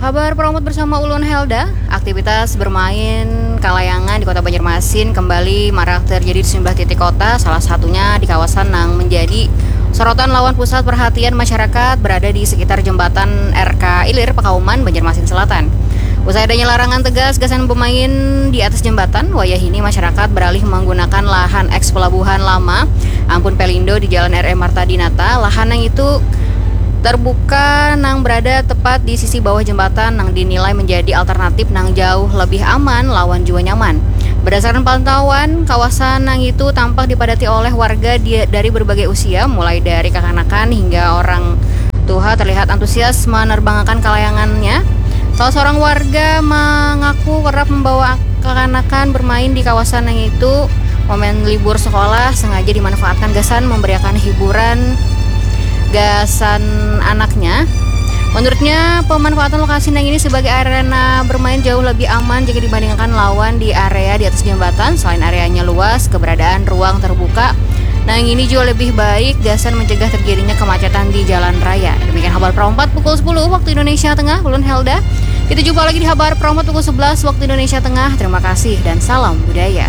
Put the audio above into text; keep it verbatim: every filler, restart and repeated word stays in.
Kabar Peromot bersama ulun Helda. Aktivitas bermain kalayangan di Kota Banjarmasin kembali marak terjadi di sejumlah titik kota, salah satunya di kawasan nang menjadi sorotan lawan pusat perhatian masyarakat berada di sekitar jembatan R K Ilir, Pakauman, Banjarmasin Selatan. Usai adanya larangan tegas gasan bermain di atas jembatan, wayah ini masyarakat beralih menggunakan lahan eks pelabuhan lama, ampun Pelindo, di Jalan R M Marta Dinata. Lahan yang itu terbuka nang berada tepat di sisi bawah jembatan nang dinilai menjadi alternatif nang jauh lebih aman lawan jua nyaman. Berdasarkan pantauan, kawasan nang itu tampak dipadati oleh warga di, dari berbagai usia, mulai dari kakanakan hingga orang tuha terlihat antusias menerbangakan kalayangannya. Salah seorang warga mengaku kerap membawa kakanakan bermain di kawasan yang itu. Momen libur sekolah sengaja dimanfaatkan gasan memberiakan hiburan gasan anaknya. Menurutnya, pemanfaatan lokasi nang ini sebagai arena bermain jauh lebih aman jika dibandingkan lawan di area di atas jembatan. Selain areanya luas, keberadaan ruang terbuka nang ini juga lebih baik gasan mencegah terjadinya kemacetan di jalan raya. Demikian Habar Perompat pukul sepuluh waktu Indonesia Tengah, ulun Helda. Kita jumpa lagi di Habar Perompat pukul sebelas waktu Indonesia Tengah. Terima kasih dan salam budaya.